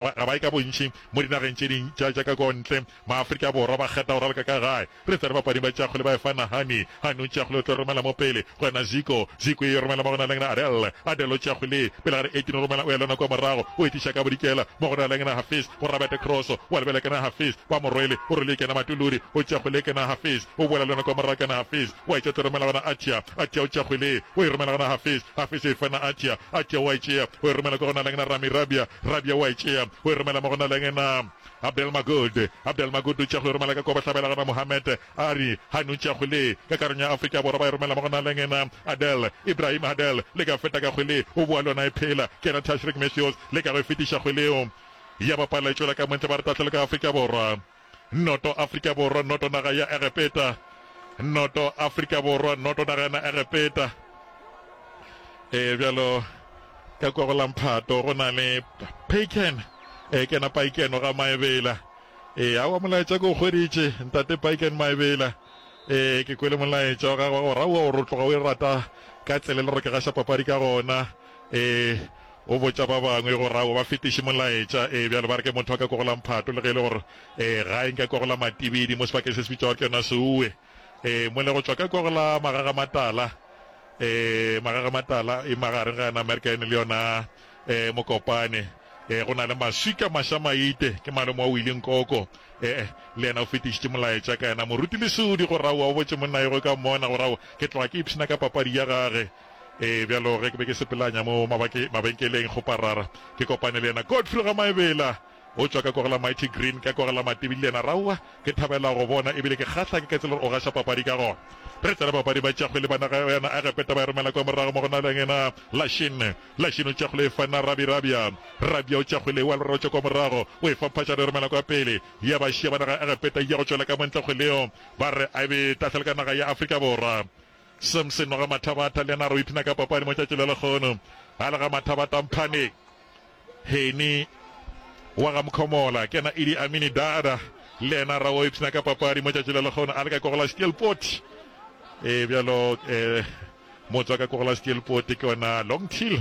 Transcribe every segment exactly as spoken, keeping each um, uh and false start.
Ga ba ye ka bontši mo dinageng tše ding tša tša ka ko ntle. Maafrika Borwa ba kgetha go raloka ka gae. Re tsena bapading ba tša kgwele ba efa Nahani. Hani o tšea kgwele o tlo romela mo pele go yena Ziko. Ziko e romela mo go na leng na Adel. Adel o tšea kgwele pele ga di eighteen o romela o ya le yona kua morago o e tliša ka bodikela mo go na leng na Hafiz go Robert Cross. Wa lebela ke na Hafiz ba mo rwele o rwele ke na Matuludi o tšea kgwele ke na Hafiz o boela le yona kua morago ke na Hafiz wa e tšea o tlo romela gona Atia. Atia o tšea kgwele o e romela gona Hafiz. Hafiz o e fa na Atia. Atia o a e tšea o e romela kwa go na leng na Rami Rabia. Rabia o a e tšea o e romela mo go na leng na Abdel Magud. Abdel Magud o tšea go e romela ka kua bohlabela gona Mohamed Ari Hani o tšea kgwele ka karolong ya Afrika Borwa ba e romela mo go na leng na Adel Ibrahim Adel le ka feta ka kgwele o boa le yona e phela ke yena Tashreeq Matthews le ka go e fetiša kgwele eo ya bapala e tšwela ka montle ba re tahlelo ka Afrika Borwa. Noto Afrika Borwa noto naga ya Egepeta. Noto Afrika Borwa noto naga ya Egepeta. E bjalo ka kwa go la mphato go na le Paiken e ke yena Paiken ga Maebela. E awa molaetša ke o hweditše ntate Paiken Maebela. E ke kwele molaetša wa gagwe gore aowa o re tloga o e rata ka tsela e le gore ke gaša papadi ka gona. E o botša ba bangwe gore aowa ba fetiše molaetša. E bjalo ba re ke motho wa ka kwa go la mphato le ge e le gore e gae nka kwa go la Matibidi mo sebakeng se se bitšwago ke yona Seuwe. E mole go tšwa ka kwa go la Magaga Matala. E Magaga Matala e magareng ga yona American le yona e Mokopane. E go na le Maswika Mašamaite ke malome wa Willie Nkoko. E le yena o fetišitše molaetša ka yena Moruti Lesodi gore aowa o botše monna yo ge ka mmona gore aowa ke tloga ke ipshina ka papadi ya gage. E bjalo ge ke be ke sepelanya mo mabake mabenkeleng Kgoparara ke kopane le yena Godfrey ga Maebela o tšwa ka kwa go la Mighty Green ka kwa go la Matibidi le yena raowa ke thabela go bona ebile ke kgahla ke ka tsela gore o gaša papadi ka gona. Re tsena papadi ba tšea kgwele ba naga ya Egepeta ba e romela kwa morago mo go na le yena Lashin. Lashin o tšea kgwele e fa na Rabi Rabia. Rabia o tšea kgwele wa lora o tšwa kwa morago o e fa Mphajana e romela kwa pele ya ba šia ba naga ya Egepeta ya go tšwela ka montle kgwele yeo ba re a be tahlelo ka naga ya Afrika Borwa. Samson wa ga Mathabatha le yena a re o ipshina ka papadi mo tšatši la lekgono a le ga Mathabatha Mphaneng. Henny wa ga Mkhomola ke yena Idi Amini Dada le yena ra o ipshina ka papadi mo tšatši la lekgono a le ka kogola Steelpoort. E bjalo e motse wa ka kogola Steelpoort ke yona Longtill.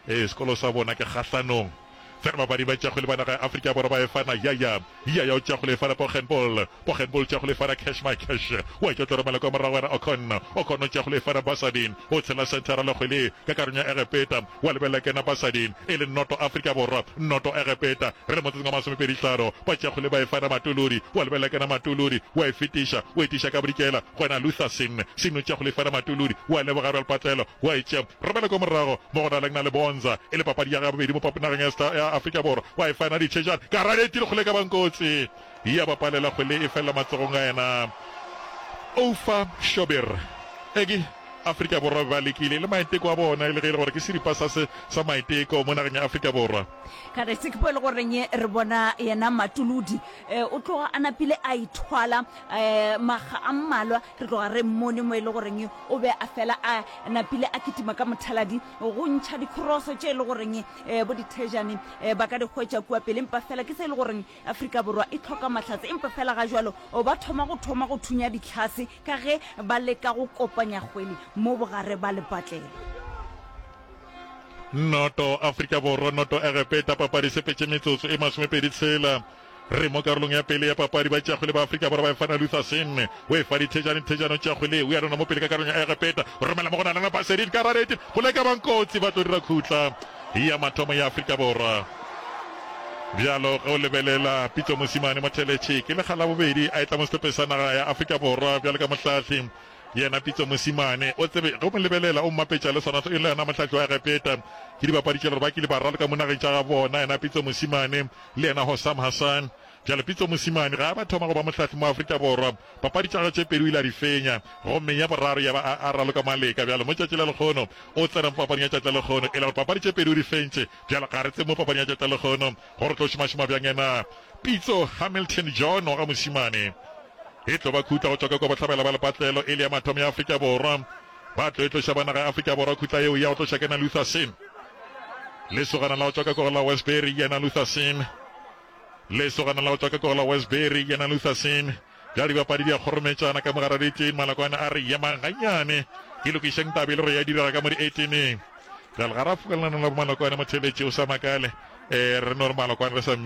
E sekolo sa bona ke kgahlanong. Fela babadi ba tšea kgwele ba naga ya Afrika Borwa ba e fana Yaya. Yaya o tšea kgwele e fana Poggenpoel. Poggenpoel o tšea kgwele e fana Cash My Cash. Wa etša o tlo romela kwa morago wena Ocon. Ocon o tšea kgwele e fana Basadien. O tshela senthara le kgwele ka karolong ya Egepeta. Wa lebelela kena Basadien e le noto Afrika Borwa, noto Egepeta. Re le motsotsong wa masomepedi hlano. Ba tšea kgwele ba e fana Matuludi. Wa lebelela kena Matuludi. Wa e fetiša. O e tiša ka bodikela go wena Luther Sin. Sin o tšea kgwele e fana Matuludi. Wa leboga Ralpatlelo. Wa e tšea. Romela kwa morago mo go na leng na le Bonza e le papadi ya gabedi mo nageng ya ya Afrika Borwa. Wa e fana Ditšhejane. Karate e tile kgwele ka bankotsi. Ya bapalela kgwele e felela matsogong a yena Oufa Shobir. Eke Afrika Borwa ba lekile le maiteko a bona e le ge e le gore ke seripa sa se sa maiteko mo nageng ya Afrika Borwa. Ka re se ke po e le goreng re bona yena Matuludi o tloga a napile a ithwala makga a mmalwa, re tloga re mmone mo e le goreng o be a fela a napile a kitima ka mothaladi go ntšha dikroso tše e le goreng bo dithejane ba ka di hwetša kua pele, empa fela ke se e le goreng Afrika Borwa e hloka mahlatse, empa fela ga jwalo ba thoma go thoma go thunya ditlhase ka ge ba leka go kopanya kgwele mo bogare ba lepatlelo. Noto Afrika Borwa, noto Egepeta, papadi sepetše metsotso e masomepedi tshela. Re mo karolong ya pele ya papadi, ba tšea kgwele ba Afrika Borwa ba e fana Luther Singh, o e fa Dithejane, Dithejane o tšea kgwele o ya lona mo pele ka karolong ya Egepeta, o romela mo go Nalana Baserin ka rarete, go leka bankotsi ba tlo dira khutla ya mathomo ya Afrika Borwa. Bjalo ge o lebelela Pitso Mosimane Motheletši ke lekga la bobedi a etla mo sehlopheng sa naga ya Afrika Borwa bjalo ka mohlahli. Yena Pitso Mosimane o tsebe ge o mo lebelela o mmapetša le sona e le yena mohlahli wa Egepeta. Ke dibapadi tše le gore ba kile ba raloka mo nageng tša ga bona yena Pitso Mosimane le yena Hossam Hassan. Bjalo Pitso Mosimane ga a ba thoma go ba mohlahli mo Afrika Borwa papadi tša gagwe tše pedi o ile a di fenya gomme ya boraro ya ba a, a raloka maleka. Bjalo mo tšatši la lekgono o tsena mo papading ya tšatši la lekgono e le gore papadi tše pedi o di fentše. Bjalo ga re tsebe mo papading ya tšatši la lekgono gore o tlo šomašoma bjang yena Pitso Hamilton John wa ga Mosimane. E tlo ba khutla go tšwa ka kua bohlabela ba lepatlelo e le ya mathomo ya Afrika Borwa. Ba tlo e tloša ba naga ya Afrika Borwa khutla yeo ya go tloša ke na Luther Singh. Lesogana la go tšwa ka kua go la Westbury yena Luther Singh. Lesogana la go tšwa ka kua go la Westbury yena Luther Singh. Bjale dibapadi di a kgorometšana ka mogare di Malakwane a re yemang gannyane ke lokišeng taba e le gore ya direga ka mo di-eighteeneng. Bjale ga ra fokelana la bomalokwane motheletši o sa makale. Eh, re no re malokwane re sa mmitša.